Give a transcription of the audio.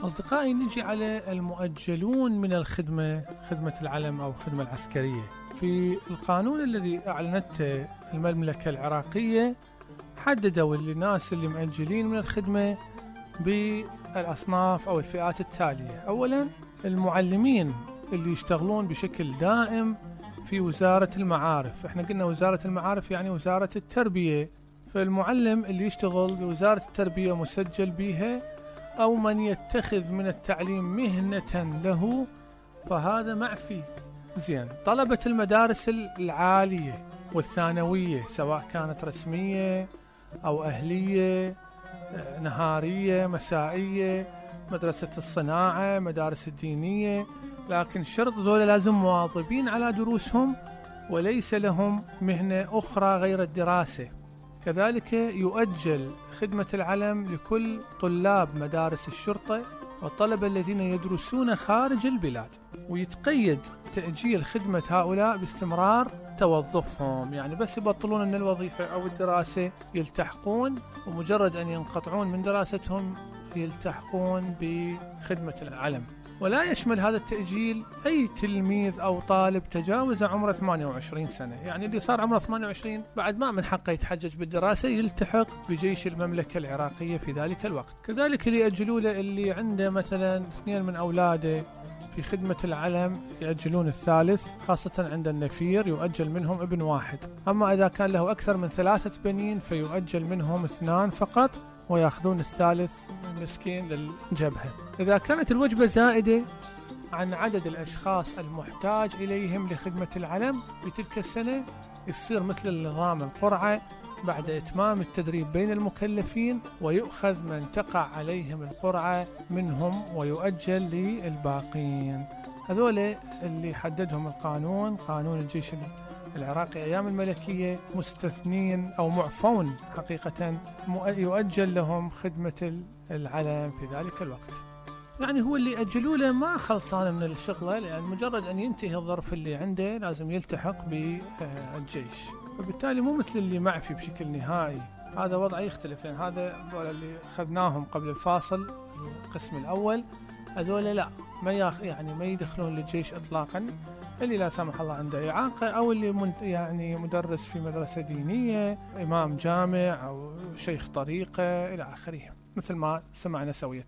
أصدقائي، نجي على المؤجلون من الخدمة، خدمة العلم أو الخدمة العسكرية. في القانون الذي أعلنته المملكة العراقية حددوا الناس اللي مؤجلين من الخدمة بالأصناف أو الفئات التالية. أولا، المعلمين اللي يشتغلون بشكل دائم في وزارة المعارف. احنا قلنا وزارة المعارف يعني وزارة التربية، فالمعلم اللي يشتغل بوزارة التربية مسجل بيها، أو من يتخذ من التعليم مهنة له، فهذا معفي. زين، طلبة المدارس العالية والثانوية سواء كانت رسمية أو أهلية، نهارية، مسائية، مدرسة الصناعة، مدارس الدينية، لكن شرط ذولا لازم مواظبين على دروسهم وليس لهم مهنة أخرى غير الدراسة. كذلك يؤجل خدمة العلم لكل طلاب مدارس الشرطة والطلبة الذين يدرسون خارج البلاد، ويتقيد تأجيل خدمة هؤلاء باستمرار توظفهم، يعني بس يبطلون من الوظيفة أو الدراسة يلتحقون، ومجرد أن ينقطعون من دراستهم يلتحقون بخدمة العلم. ولا يشمل هذا التأجيل أي تلميذ أو طالب تجاوز عمره 28 سنة، يعني اللي صار عمره 28 بعد ما من حقه يتحجج بالدراسة يلتحق بجيش المملكة العراقية في ذلك الوقت. كذلك اللي يأجلوا له اللي عنده مثلا 2 من أولاده في خدمة العلم يأجلون الثالث، خاصة عند النفير يؤجل منهم ابن واحد. أما إذا كان له أكثر من 3 بنين فيؤجل منهم 2 فقط، ويأخذون الثالث مسكين للجبهة. إذا كانت الوجبة زائدة عن عدد الأشخاص المحتاج إليهم لخدمة العلم في تلك السنة، يصير مثل النظام القرعة بعد إتمام التدريب بين المكلفين، ويؤخذ من تقع عليهم القرعة منهم ويؤجل للباقين. هذول اللي حددهم القانون، قانون الجيش العراقي أيام الملكية، مستثنين أو معفون حقيقة، يؤجل لهم خدمة العلم في ذلك الوقت. يعني هو اللي أجلوا له ما خلصان من الشغلة، لأن مجرد أن ينتهي الظرف اللي عنده لازم يلتحق بالجيش، وبالتالي مو مثل اللي معفي بشكل نهائي. هذا وضع يختلف، لأن هذا اللي أخذناهم قبل الفاصل القسم الأول، هذول لا ما يدخلون للجيش إطلاقا، اللي لا سمح الله عنده إعاقة، أو اللي يعني مدرس في مدرسة دينية، إمام جامع أو شيخ طريقة إلى آخره، مثل ما سمعنا سوية.